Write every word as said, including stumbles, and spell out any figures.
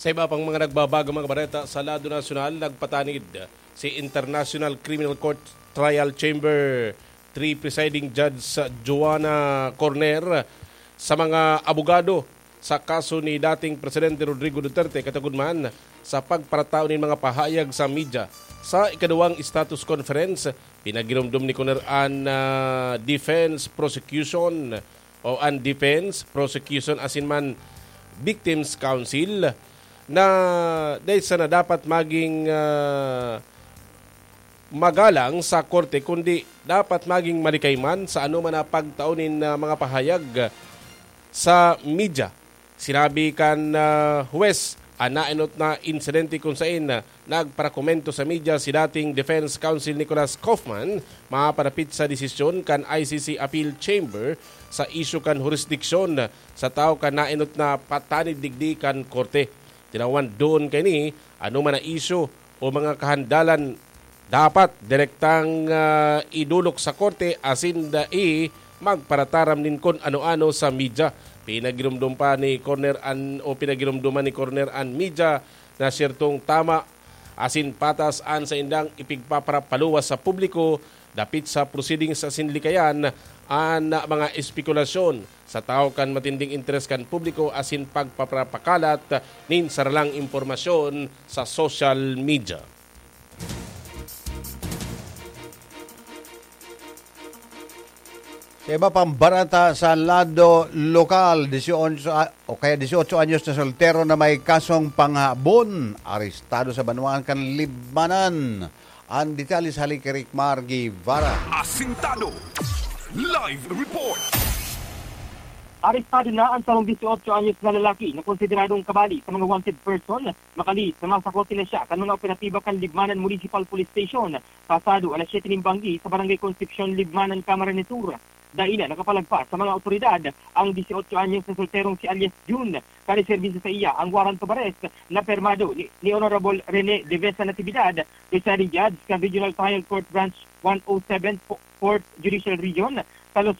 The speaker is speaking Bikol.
Sa iba pang mga nagbabagang mga bareta sa lado nasyonal, nagpatanid si International Criminal Court Trial Chamber three Presiding Judge Joanna Corner sa mga abogado sa kaso ni dating Presidente Rodrigo Duterte, katagod man sa pagparatao nin mga pahayag sa media. Sa ikaduwang status conference, pinagiromdom ni Corner an ah, defense prosecution o an defense prosecution asin man victims counsel na dahil sana dapat maging ah, magalang sa korte, kundi dapat maging malikay man sa anoman na pagtao nin ah, mga pahayag sa media. Sinabi kan ah, huwes an naenot na insidente kun sain ah, nagparakomento sa media si dating defense counsel Nicolas Kaufman maparapit sa desisyon kan I C C Appeal Chamber sa isyu kan hurisdiksyon sa tawo kan naenot na patanid digdi kan korte. Tinawan doon kaini anoman na isyu o mga kahandalan dapat direktang ah, idulok sa korte asin dai magparataram nin kun ano-ano sa media. Pinagiromdom pa ni Corner an o pinagiromdoman ni Corner an media na siyertong tama asin patas an saindang ipigpaparapaluwas sa publiko dapit sa proceedings asin likayan an mga espekulasyon sa tawo kan matinding interes kan publiko asin pagpapakalat nin saralang impormasyon sa social media. Sa iba pang barata sa lado lokal, dieciocho a- o kaya dieciocho anyos na soltero na may kasong panghabon, arestado sa banwaan kan Libmanan. Ang detalye sa hali kay Rick Mar Guevara. Asintado. Live report. Arestado na ang sarong dieciocho anyos na lalaki na konsideradong kabali sa mga wanted person, makali sa masakote na siya kan mga operatiba kan Libmanan Municipal Police Station pasado alas siyete nin banggi sa Barangay Concepcion, Libmanan, Camarines Sur. Dai na nakapalagpas sa mga awtoridad ang dieciocho anyos na solterong si alias Jun. Kan iserbisyo sa iya ang warrant of arrest na permado ni, ni Honorable Rene Devesa Natividad, presiding judge kan Regional Trial Court Branch one oh seven, Fourth Judicial Region, sa Los